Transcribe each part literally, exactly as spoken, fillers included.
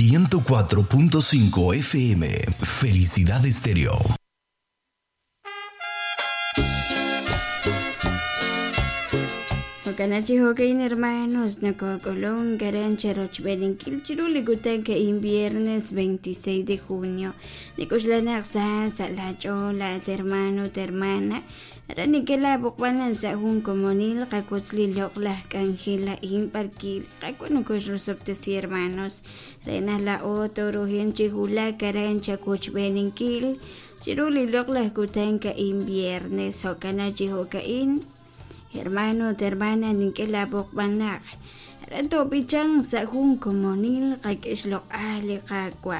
ciento cuatro punto cinco F M, Felicidad Estéreo. Kanachi hokein hermanos, Nacocolón, Garancha, Rochberinkil, Chiruli, Gutanka, in viernes veintiséis de junio. Nikushlana, Sa, la chola, hermano, hermana. Ranikela, Bukwanan, Sahun, Comonil, Kakutzli, Lokla, Cangela, In, Parquil, Kakunukush, hermanos. Rena, la Otoro, Chihula, Karancha, Kuchberinkil, Chiruli, Lokla, Gutanka, in viernes, Hokanachi, Hokain. Hermano, hermana, ninkela bokbanak. Aran bichan sa jun komonil kakishlok ali kakwa.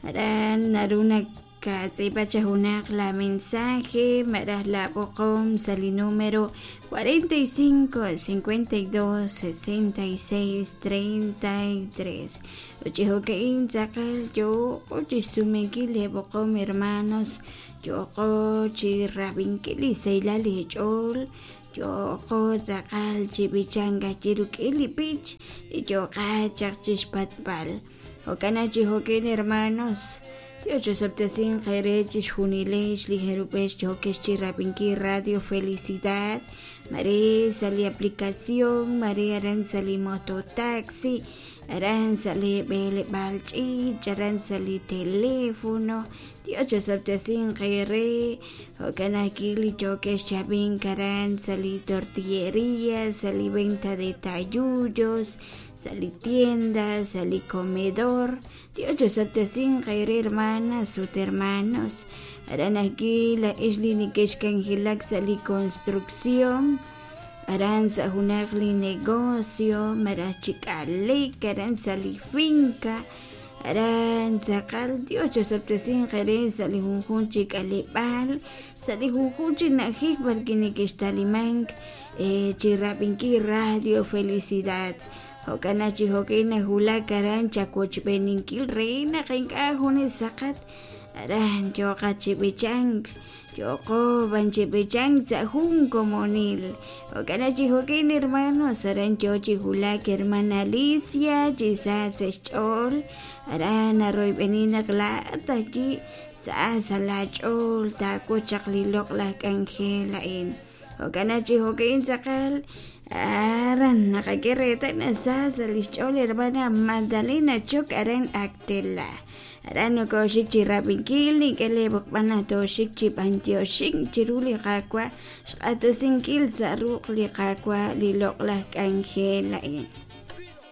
Aran naruna katzipachahunak la mensaje marah la bokom sali número cuarenta y cinco, cincuenta y dos, sesenta y seis, treinta y tres. Ochihokein tzakal yo ochisumekile bokom hermanos. Yo kochi rabinkili seilali chol. Yo tzakal chibichanga chirukili pich y yo kachachishpatzbal. Okanachi hoken hermanos. Dios optasin jerech junilesh lijerupesh chokesh chirapinki Radio Felicidad. Mare sali aplicación, mare aran sali mototaxi, aran sali bele balchi, aran sali teléfono. Dios optasin jere, okanakili chokesh chabin karan sali tortillería, sali venta de tayullos, sali tienda, sali comedor. Dios optasin jere hermanas, sut hermanos. Aran aquí la isli nikeshkanjilak sali construcción. Aran sahunakli negocio, marachikalik, aran sali finca. Aran tzakal, Dios optasin jere sali junjunchik alipal, sali junjunchik najik barki nikishtalimank, eh, chirapinki Radio Felicidad. Hokanachi hokina hulak aran chakochbeninkil reina qinka junis saqat. Aran yoqa chibichank, yoko banchibichank sahun komonil. Hokanachi hokin hermanos, aran yochi hulak hermana Alicia, quizás eschol. Aran arroy benina klatachi, sa salachol, taco chaklilok la cangela in. Hokanachi hokin sakal. Aran nakakereta na sa salischol hermana Magdalena Chok aran Actela. Aran no koshik chirapinkil ni kele bokbana toshik chipantioshik chiruli kakwa xqatasinkil saruq li kakwa lilok la kangela in.